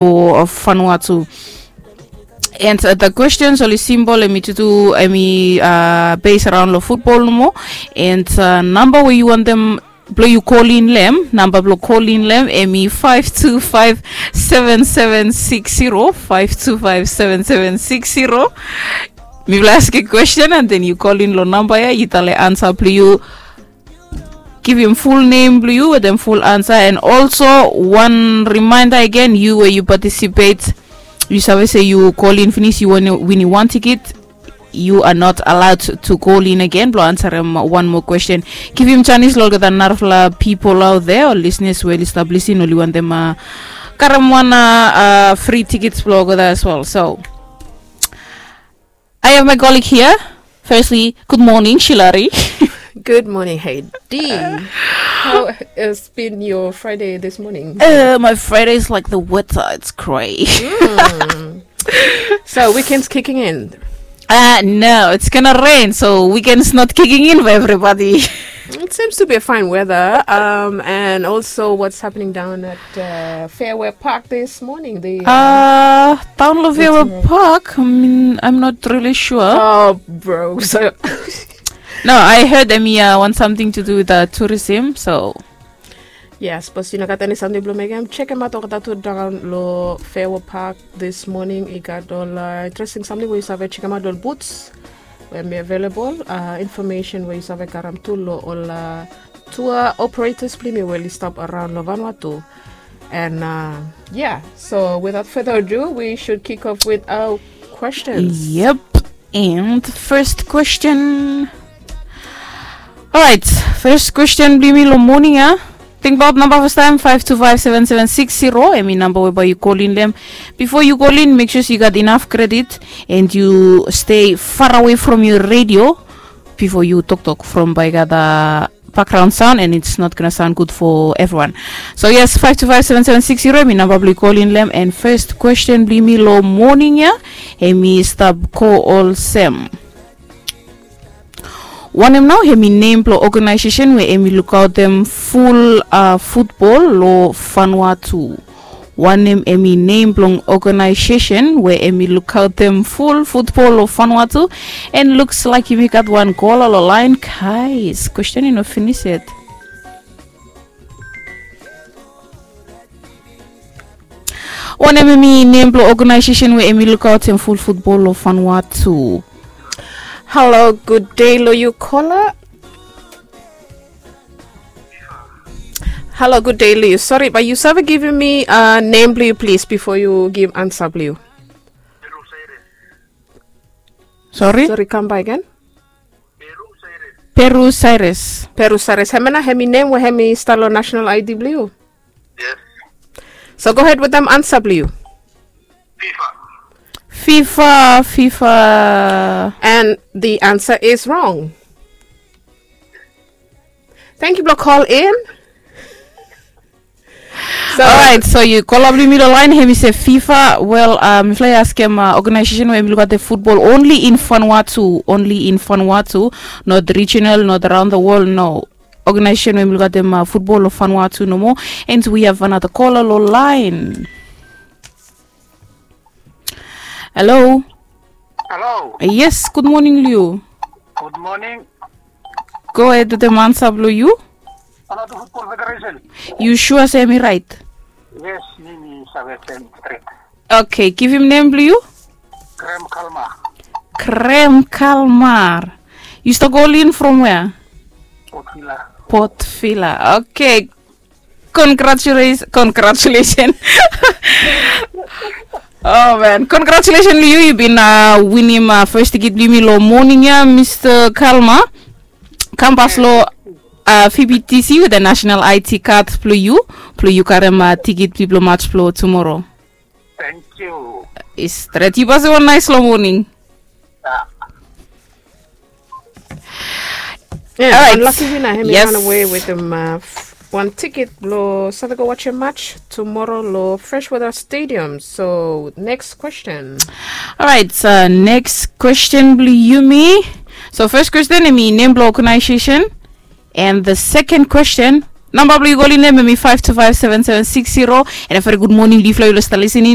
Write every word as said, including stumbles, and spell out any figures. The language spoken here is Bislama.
of Vanuatu. And uh, the questions oli simple, emi tutu emi uh, base around lo football nomo. And uh, namba we yu wantem blo yu kolin lem, namba blo kolin lem emi five two five seven seven six zero, five two five seven seven six zero. Mifala askem question and then yu kolin lo namba ya, yu tale ansa blo yu. Givim ful nem blo yu wetem ful ansa. And also wan reminder again, yu we yu participate, yu save se yu kolin finis, yu winim wan tikit, you are not allowed to call in again blo ansarem wan moa question. Givim janis lo olgeta narafala pipol out there o listeners we oli stap lisin, oli wantem karem wan fri tikits blo olgeta as well. So I have my colleague here. Firstly, good morning, Shilari. Good morning, Heidi. How has been your Friday this morning? Uh, my Friday is like the weather, it's gray. So weekend's kicking in. Uh, no, it's gonna rain, so weekend's not kicking in for everybody. It seems to be a fine weather. Um, and also, what's happening down at uh, Fairway Park this morning? The uh, uh, down lo Fairway Park. I mean, I'm not really sure. Oh, bro. So no, I heard them here want something to do with uh, tourism, so Yes, bos yu no gat eni samting blo mekem, chekem aot olgeta tu daon lo Fairway Park this morning. I gat ol interesting samting we yu save chekem aot, ol booths we mi available, information we yu save karem tu lo ol tour operators blo yumi we oli stap around lo Vanuatu. And yeah, so without further ado, we should kick off with our questions. Yep. And first question. Alright, first question blo yumi lo moning ya. Tingbaot namba fastaem, five two five seven seven six zero, emi namba we bae yu kolin lem. Bifo yu kolin, mek sua se yu gat inaf kredit and yu stay farawe from yu redio bifo yu toktok, from bae i gat bakgraon saon and it's not gonna sound good for everyone. So yes, five two five seven seven six zero emi namba blo yu kolin lem. And first question blo yumi lo moning ya, emi stap go olsem. Wanem nao emi nem blo oganaesesen we emi lukaotem ful futbol lo Vanuatu? Wanem emi nem blong oganaesesen we emi lukaotem ful futbol lo Vanuatu? And luks laek yumi gat wan kola lo laen, guys. Kwestin i no finis yet. Wanem emi nem blo oganaesesen we emi lukaotem ful futbol lo Vanuatu? Halo, gud dei lo yu, kola. Halo, gud dei lo yu. Sori, bae yu save givim mi nem blo yu plis bifo yu givim ansa blo yu. Sori? Sori, kam baek gen. Peru Cyrus. Peru Cyrus. Hemia nao hemi nem we hemi stap lo national I D blo yu. Yes. So go ahead wetem ansa blo yu. FIFA. FIFA, FIFA. And the answer is wrong. Thank you blo kolin. Alright, so yu kola blo yumi lo laen, hemi se FIFA. Wel, mifala i askem oganaesesen we hemi lukaotem futbol only in Vanuatu, only in Vanuatu, not regional, not around the world, no. Oganaesesen we hemi lukaotem futbol lo Vanuatu nomo. And we have another kola lo laen. Halo. Halo. Yes, gud moning lo yu. Gud moning. Go ahed wetem ansa blo yu. Vanuatu Futbol Federesen. Yu sua se hemi raet? Yes, mi mi save se hemi stret. Oke, givim nem blo yu. Graham Kalmar. Graham Kalmar. Yu stap kolin from wea? Port Vila. Port Vila. Oke. Congratulations, congratulations. Oh man, congratulations lo yu, yu bin winim fes tikit blo yumi lo moning ya, Mista Kalma. Kambas lo V B T C wetem national I D card blo yu, blo yu karem tikit blo mats blo tumoro. Thank you. I stret, yu bae wan naes lo moning. Alright. Wan laki wina hemi ranawe wetem wan tikit blo save go wajem mats tumoro lo Freshwater Stadium. So next question. Alright, so next question blo yumi. So fes question hemi nem blo oganaesesen. And the second question, namba blo yu kolin lem hemi five two five seven seven six zero. And a very gud moning lo yufala we oli stap lisening.